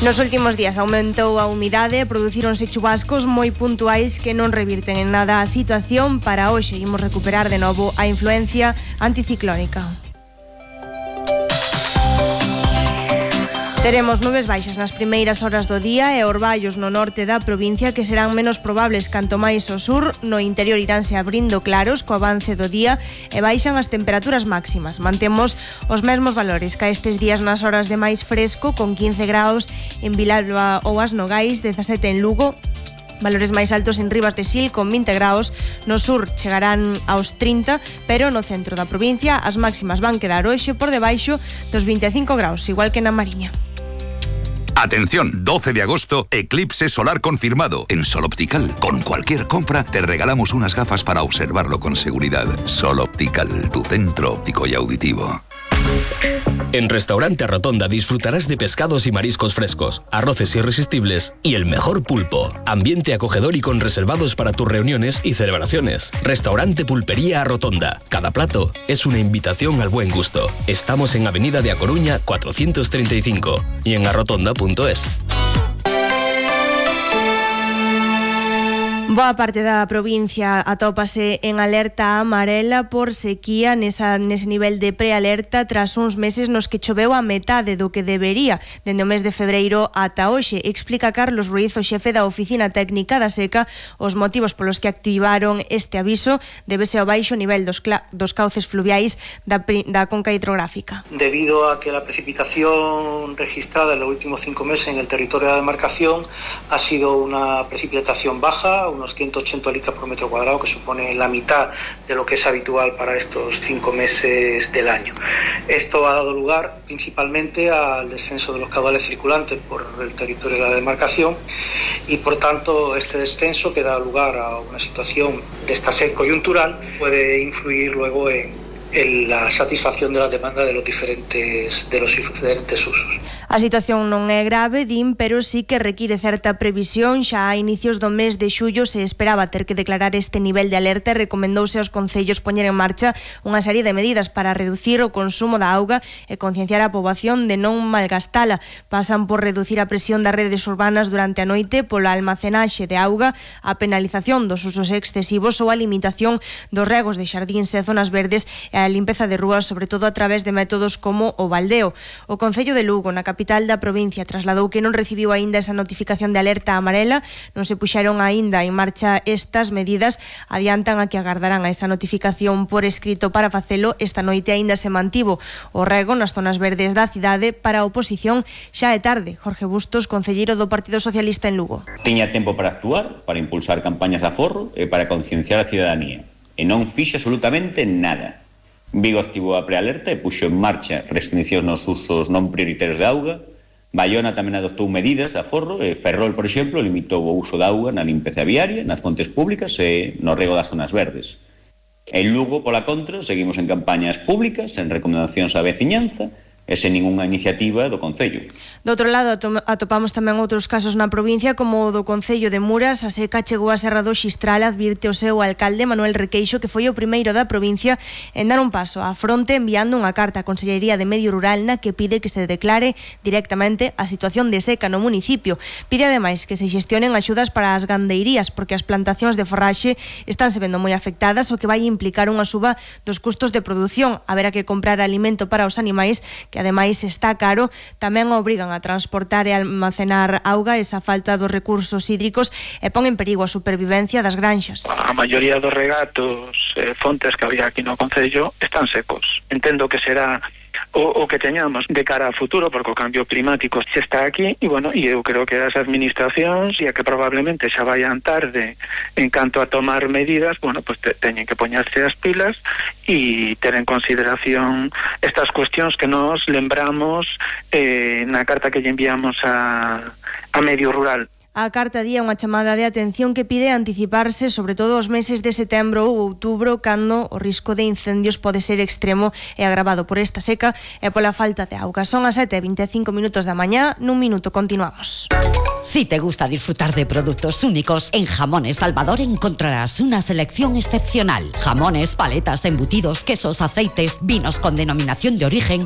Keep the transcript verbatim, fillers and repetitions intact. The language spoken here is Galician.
Nos últimos días aumentou a humidade e producíronse chubascos moi puntuais que non revirten en nada a situación. Para hoxe imos recuperar de novo a influencia anticiclónica. Teremos nubes baixas nas primeiras horas do día e orballos no norte da provincia que serán menos probables canto máis ao sur. No interior iránse abrindo claros co avance do día e baixan as temperaturas máximas. Mantemos os mesmos valores que estes días nas horas de máis fresco, con quince graus en Vilalba ou As Nogais, dezasete en Lugo, valores máis altos en Ribas de Sil con vinte graus, no sur chegarán aos trinta, pero no centro da provincia as máximas van quedar hoxe por debaixo dos vinte e cinco graus, igual que na Mariña. Atención, doce de agosto, eclipse solar confirmado en Sol Optical. Con cualquier compra te regalamos unas gafas para observarlo con seguridad. Sol Optical, tu centro óptico y auditivo. En Restaurante Rotonda disfrutarás de pescados y mariscos frescos, arroces irresistibles y el mejor pulpo. Ambiente acogedor y con reservados para tus reuniones y celebraciones. Restaurante Pulpería Rotonda. Cada plato es una invitación al buen gusto. Estamos en Avenida de A Coruña cuatrocientos treinta y cinco y en arrotonda punto es. Boa parte da provincia atópase en alerta amarela por sequía, nesa, nese nivel de prealerta tras uns meses nos que choveu a metade do que debería dende o mes de febreiro ata hoxe. Explica Carlos Ruiz, o xefe da Oficina Técnica da Seca, os motivos polos que activaron este aviso débese ao baixo nivel dos, dos cauces fluviais da, da conca hidrográfica. Debido a que la precipitación registrada en los últimos cinco meses en el territorio de la demarcación ha sido una precipitación baja, unos ciento ochenta litros por metro cuadrado, que supone la mitad de lo que es habitual para estos cinco meses del año. Esto ha dado lugar principalmente al descenso de los caudales circulantes por el territorio de la demarcación y por tanto este descenso, que da lugar a una situación de escasez coyuntural, puede influir luego en, en la satisfacción de la demanda de los diferentes, de los diferentes usos. A situación non é grave, din, pero sí que require certa previsión. Xa a inicios do mes de xullo se esperaba ter que declarar este nivel de alerta e recomendouse aos concellos poñer en marcha unha serie de medidas para reducir o consumo da auga e concienciar a poboación de non malgastala. Pasan por reducir a presión das redes urbanas durante a noite, pola almacenaxe de auga, a penalización dos usos excesivos ou a limitación dos regos de xardíns e zonas verdes e a limpeza de rúas, sobre todo a través de métodos como o baldeo. O Concello de Lugo, na capital da provincia, trasladou que non recibiu aínda esa notificación de alerta amarela, non se puxeron aínda en marcha estas medidas, adiantan a que agardarán a esa notificación por escrito para facelo. Esta noite aínda se mantivo o rego nas zonas verdes da cidade. Para a oposición xa é tarde. Jorge Bustos, concelleiro do Partido Socialista en Lugo. Tiña tempo para actuar, para impulsar campañas de aforro e para concienciar a cidadanía, e non fixe absolutamente nada. Vigo activou a prealerta e puxo en marcha restriccións nos usos non prioritarios de auga. Baiona tamén adoptou medidas de aforro e Ferrol, por exemplo, limitou o uso de auga na limpeza viaria, nas fontes públicas e no rego das zonas verdes. En Lugo, pola contra, seguimos en campañas públicas, en recomendacións á veciñanza e sen ningunha iniciativa do Concello. Do outro lado, atopamos tamén outros casos na provincia, como o do Concello de Muras. A seca chegou a Serra do Xistral, advirte o seu alcalde Manuel Requeixo, que foi o primeiro da provincia en dar un paso á fronte, enviando unha carta á Consellería de Medio Rural na que pide que se declare directamente a situación de seca no municipio. Pide ademais que se xestionen axudas para as gandeirías, porque as plantacións de forraxe estánse vendo moi afectadas, o que vai implicar unha suba dos custos de produción. Haberá que comprar alimento para os animais, que ademais está caro. Tamén obrigan a transportar e almacenar auga, esa falta dos recursos hídricos, e pon en perigo a supervivencia das granxas. A maioría dos regatos e eh, fontes que había aquí no Concello están secos. Entendo que será o, o que teñamos de cara a futuro, porque o cambio climático xa está aquí, e bueno, e eu creo que as administracións, e a que probablemente xa vayan tarde en canto a tomar medidas, bueno, pues te, teñen que poñerse as pilas e ter en consideración estas cuestións que nos lembramos eh, na carta que lle enviamos a, a Medio Rural. A carta día unha chamada de atención que pide anticiparse, sobre todo os meses de setembro ou outubro, cando o risco de incendios pode ser extremo e agravado por esta seca e pola falta de auga. Son as sete e vinte e cinco minutos da mañá, nun minuto continuamos. Si te gusta disfrutar de productos únicos, en Jamones Salvador encontrarás una selección excepcional. Jamones, paletas, embutidos, quesos, aceites, vinos con denominación de origen